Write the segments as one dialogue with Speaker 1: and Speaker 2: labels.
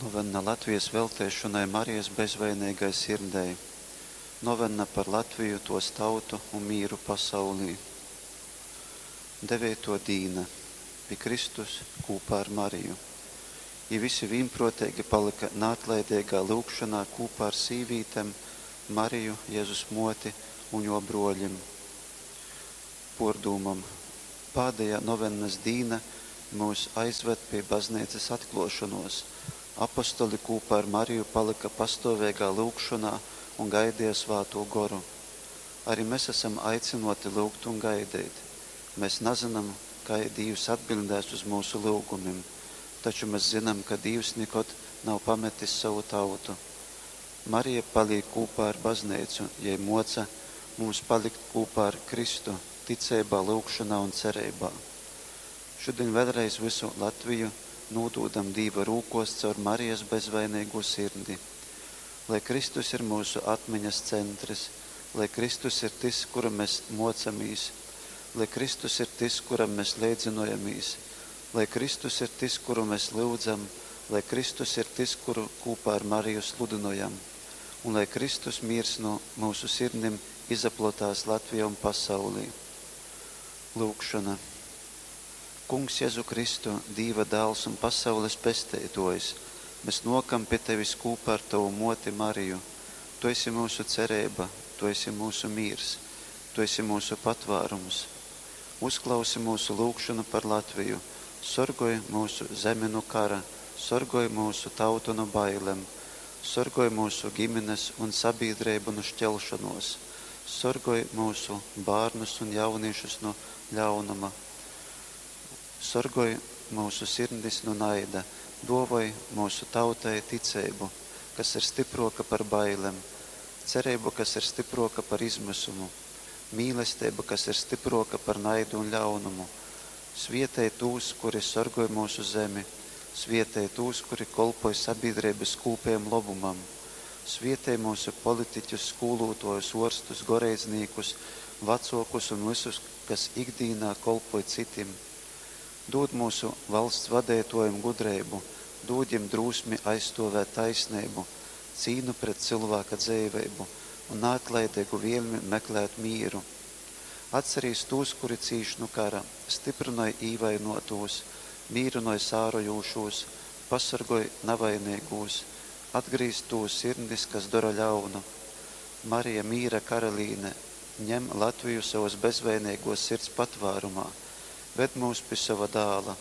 Speaker 1: Novenna Latvijas velteišonai Marijas bezvaineigai sirdei. Novenna par Latviju, tos tautu un mīru pasaulī. Deveituo dīna. Pi Kristus kūpā ar Mariju. I visi vīnpruoteigi palyka naatlaideigā lyugšonā kūpā ar sīvītem, Mariju, Jezus muoti un juo bruolim. Puordūmom. Pādejā novennas dīna myus aizvad pi bazneicys atkluošonuos. Apostoli kūpā ar Mariju palyka pastuoveigā lyugšonā un gaideja Svātū Goru. Ari mes asam aicynuoti lyugt un gaideit. Mes nazynam, kai Dīvs atbiļdēs uz myusu lyugumim, taču mes zynam, ka Dīvs nikod nav pametis sovu tautu. Marija palīk kūpā ar Bazneicu, jei muoca mums palikt kūpā ar Kristu ticeibā, lyugšonā un cereibā. Šudiņ vēļreiz vysu Latviju nūdūdam Dīva rūkuos caur Marijas bezvaineigū sirdi. Lai Kristus ir myusu atmiņas centrys, lai Kristus ir tys, kuru mes muocamīs, lai Kristus ir tys, kuram mes leidzynojamīs, lai Kristus ir tys, kuru mes lyudzam, lai Kristus ir tys, kuru kūpā ar Mariju sludynojam. Un lai Kristus mīrs nu myusu sirdim izaplotās Latvijā un pasaulī. Lyugšona. Kungs Jezu Kristu, Dīva Dāls un pasaules Pesteituojs, mes nuokam pi Tevis kūpā ar Tovu muoti Mariju. Tu esi myusu cereiba, Tu esi myusu mīrs, Tu esi myusu patvārums. Uzklausi myusu lyugšonu par Latviju, sorgoj myusu zemi nu kara, sorgoj myusu tautu nu bailem, sorgoj myusu gimines un sabīdreibu nu šķelšonuos, sorgoj myusu bārnus un jaunīšus nu ļaunuma, sorgoj myusu sirdis nu naida, duovoj myusu tautai ticeibu, kas ir stypruoka par bailem, cereibu, kas ir stypruoka par izmysumu, mīlesteibu, kas ir stypruoka par naidu un ļaunumu. Svietej tūs, kuri sorgoj myusu zemi, svietej tūs, kuri kolpoj sabīdreibys kūpejam lobumam. Svietej myusu politiķus, skūluotuojus, uorstus, goreidznīkus, vacuokus un vysus, kas ikdīnā kolpoj cytim. Dūd myusu valsts vadeituojim gudreibu, dūd jim drūsmi aizstuovēt taisneibu, cīnu pret cylvāka dzeiveibu un naatlaideigu vielmi meklēt mīru. Atcerīs tūs, kuri cīš nu kara, styprynoj īvainuotūs, mīrynoj sārojūšūs, pasorgoj navaineigūs, atgrīz tūs sirdis, kas dora ļaunu. Marija, mīra karalīne, ņem Latviju sovas bezvaineiguos sirds patvārumā, ved myus pi sova Dāla,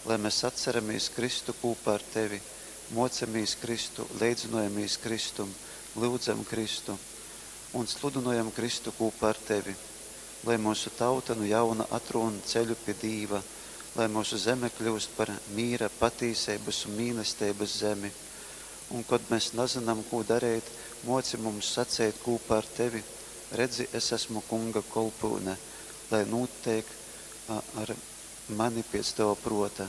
Speaker 1: lai mes atceramīs Kristu kūpā ar Tevi, muocamīs Kristu, leidzynojamīs Kristum, lyudzam Kristu un sludynojam Kristu kūpā ar Tevi. Lai myusu tauta nu jauna atrūn ceļu pi Dīva, lai myusu zeme kļyust par mīra, patīseibys un mīlesteibys zemi. Un, kod mes nazynam, kū dareit, muoci mums saceit kūpā ar Tevi, Redzi, es esmu Kunga kolpyune, lai nūteik ar mani piec Tova pruota.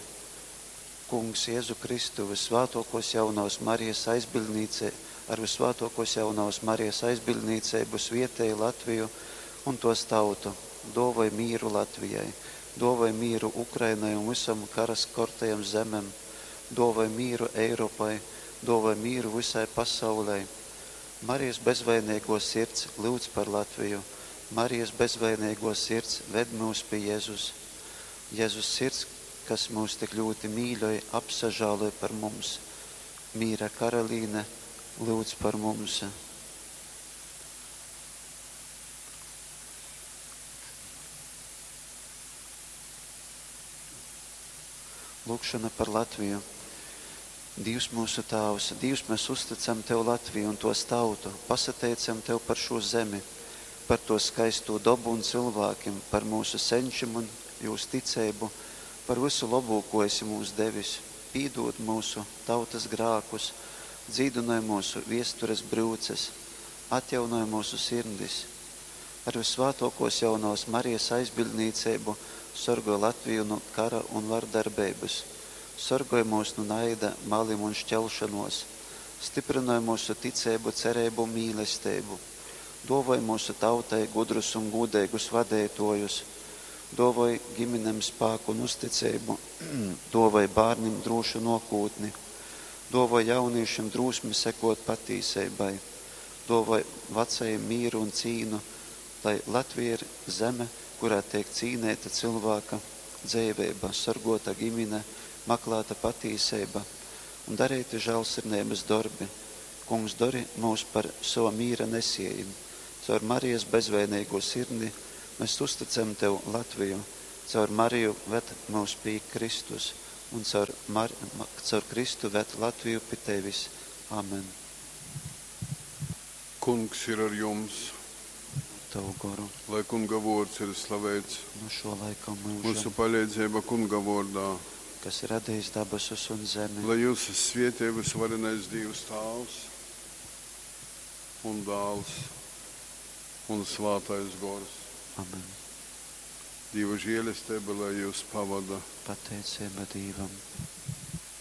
Speaker 1: Kungs Jezu Kristu, Vyssvātuokuos Jaunovys Marijas aizbiļdnīce, ar Vyssvātuokuos Jaunovys Marijas aizbiļdnīceibu svietej Latviju un tuos tautu. Duovoj mīru Latvijai, duovoj mīru Ukrainai un vysom kara skortajom zemem, duovoj mīru Eiropai, duovoj mīru vysai pasaulei. Marijas bezvaineiguo sirds, lyudz par Latviju! Marijas bezvaineiguo sirds, ved myus pi Jezus! Jezus Sirds, kas myus tik ļūti mīļoj, apsažāloj par mums! Mīra Karalīne, lyudz par mums! Lūgšona par Latviju. Dīvs myusu Tāvs, Dīvs, mes uztycam Tev Latviju un tuos tautu, pasateicam Tev par šū zemi, par tuos skaistū dobu un cylvākim, par myusu seņčim un jūs ticeibu, par vysu lobū, kū esi mums devis. Pīdūd myusu tautys grākus, dzīdynoj myusu viestures bryuces, atjaunoj myusu sirdis. Ar Vyssvātuokuos Jaunovys Marijas aizbiļdnīceibu sorgoj Latviju nu kara un vardarbeibys, sorgoj myus nu naida, malim un šķelšonuos, styprynoj myusu ticeibu, cereibu un mīlesteibu. Duovoj myusu tautai gudrus un gūdeigus vadeituojus, duovoj giminem spāku un uzticeibu, duovoj bārnim drūšu nuokūtni. Duovoj jaunīšim drūsmi sekuot patīseibai. Duovoj vacajim mīru un cīnu, lai Latvija ir zeme, kurā teik cīneita cylvāka dzeiveiba, sorguota gimine, maklāta patīseiba un dareiti žālsirdeibys dorbi. Kungs, dori mūs par sova mīra nesiejim. Caur Marijas bezvaineigū sirdi mēs uzticam Tev Latviju. Caur Mariju ved mūs pie Kristus un caur Kristu ved Latviju pi Tevis. Amen.
Speaker 2: Kungs ir ar jums.
Speaker 1: Tavu goru.
Speaker 2: Lai Kunga vuords ir slaveits.
Speaker 1: Nu šo laika un mūžam.
Speaker 2: Myusu paleidzeiba Kunga vuordā.
Speaker 1: Kas ir radījis dabasus un zemi.
Speaker 2: Lai jūs svietej vysvarenais Dīvs Tāvs un Dāls un Svātais Gors.
Speaker 1: Amen.
Speaker 2: Dīva žēlesteiba lai jūs pavada.
Speaker 1: Pateicība Dīvam.